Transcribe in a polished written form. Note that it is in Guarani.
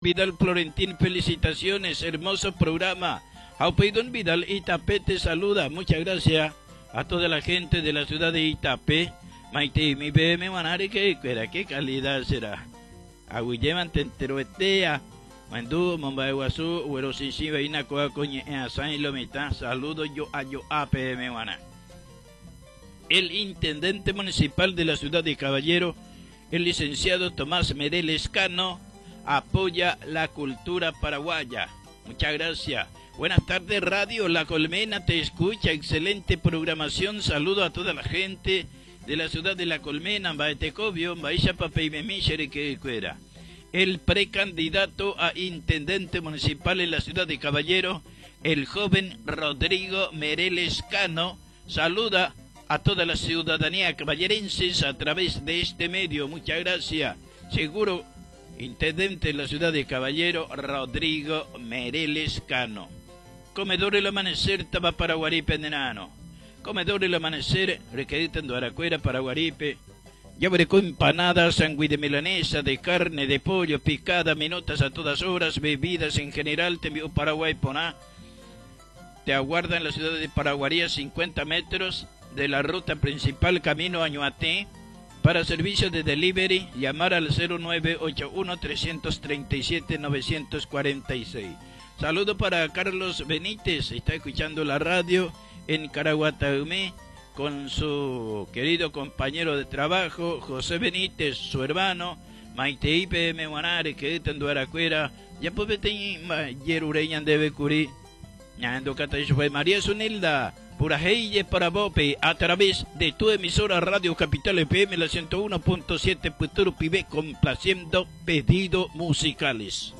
Vidal Florentín, felicitaciones, hermoso programa. Upéi Don Vidal Itapé te saluda, muchas gracias a toda la gente de la ciudad de Itapé. Maiteimi peẽme g̃uarã reke'ekuéra, qué calidad será. Aguyjémante enterovetéa, ohendu omomba'eguasu oguerosĩsĩvaína kóva ko ñe'ẽ asãi lo mitã, saludo jo'a jo'a peẽme g̃uarã. El intendente municipal de la ciudad de Caballero, El licenciado Tomás Mereles Cano apoya la cultura paraguaya. Muchas gracias. Buenas tardes, Radio La Colmena te escucha. Excelente programación. Saludo a toda la gente de la ciudad de La Colmena, Mbaetecobio, Mba'éichapa peimemi che ryke'ykuéra. El precandidato a intendente municipal en la ciudad de Caballero, el joven Rodrigo Mereles Cano, saluda a toda la ciudadanía caballerenses a través de este medio. Muchas gracias. Seguro, intendente de la ciudad de Caballero, Rodrigo Mereles Cano. Comedor El Amanecer, táva Paraguarípe, Nenano. Comedor El Amanecer, requerita en Duaracuera, Paraguarípe. Jaguereko empanada, sangui de milanesa, de carne, de pollo, picada, minutas a todas horas, bebidas en general, tembi'u Paraguay porã. Te aguarda en la ciudad de Paraguarí a 50 metros de la ruta principal camino a Ñuatĩ. Para servicio de delivery, llamar al 0981 337 946. Saludo para Carlos Benítez, está escuchando la radio en Caraguatayumí con su querido compañero de trabajo, José Benítez, su hermano, Maitei peẽme g̃uarã rekeýta nduarakuéra, japo peteĩ jerure ñandéve kuri. Ñahendukáta ichupe María Zunilda purahéi jeparavópe a través de tu emisora Radio Capital FM la 101.7 pytu rupive complaciendo pedido musicales.